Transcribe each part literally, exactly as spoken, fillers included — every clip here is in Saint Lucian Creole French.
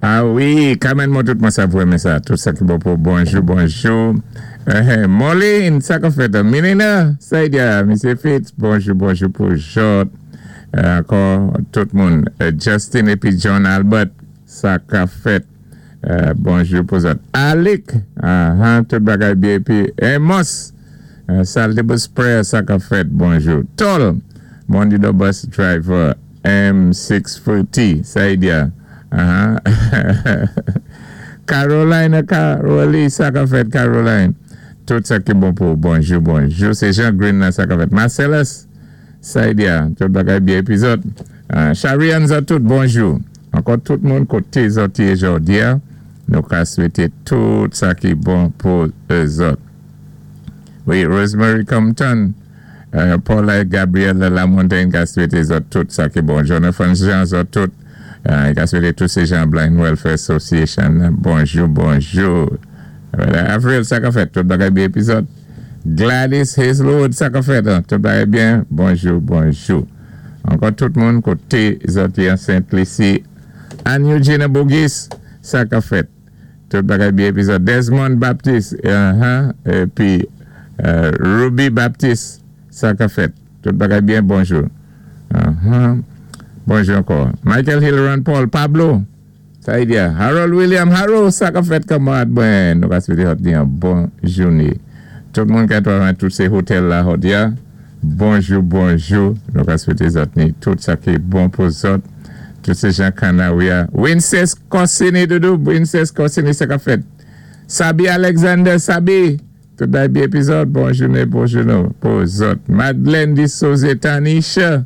Ah wi, Carmen mwen tout mwen sa pou renmen sa. Tout sa ki bon pou bonjou, bonjou. Euh, Molin, sa ka fèt. Minina, Saïdia, Misye Fitz, bonjou, bonjou pou zòt. Euh, ankò, tout moun. Euh, Justin épi John Albert, sa ka fèt. Euh, bonjou pou zòt. Alec, ah, ah, tout bagay byen. Épi Amos, euh, Saltibus Prayer, sa ka fèt, bonjou. Tol, Mondido Bus Driver, M sis forty, Saïdia. Uh-huh. Caroline, Caroline, sa ka fèt, Caroline. Tout sa ki bon pou bonjou, bonjou. Sé Jean Green la, sa ka fèt. Marcellus, Saïdia, tout bagay byen épi zòt. Uh, Charian zòt tout, bonjou. Ankò tout moun koté zòt yé jòdi a, nou ka swété tout sa ki bon pou zòt. Wi, Rosemary Compton, euh, Paula et Gabriel Lamontagne ka swété zòt tout sa ki bon. Jonathan Jean zòt tout, euh, ka swété tout sé jan Blind Welfare Association. Bonjou, bonjou. Voilà. Avril, sa ka fèt, tout bagay byen épi zòt. Gladys Hazelwood, sa ka fèt, hein, tout bagay byen. Bonjou, bonjou. Ankò tout moun koté zòt an Saint-Lucie. Anne Eugenia Bogis, sa ka fèt. Tout bagay byen épi zòt. Desmond Baptiste, uh-huh, épi euh, Ruby Baptiste, sa ka fèt. Tout bagay byen, bonjou. Uh-huh. Bonjou ankò. Michael Hill, Paul Pablo, Saïdia. Harold William, Harold, sa ka fèt kanmarad. Bon, nou ka swété yon bon jouné. Tout moun ki travay tout sé otèl la jòdi a. Bonjou, bonjou. Nou ka swété zòt ni tout sa ki bon pou zòt. Tout sé jan Kanawia. Winces Corsini, doudou. Winces Corsini, sa ka fèt. Sabi Alexander, Sabi. Tout bagay byen épi zòt. Bon jouné, bon jouné pou zòt. Madeleine Di Souza Tanisha,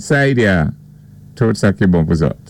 Saïdia. Tout sa ki bon pou zòt.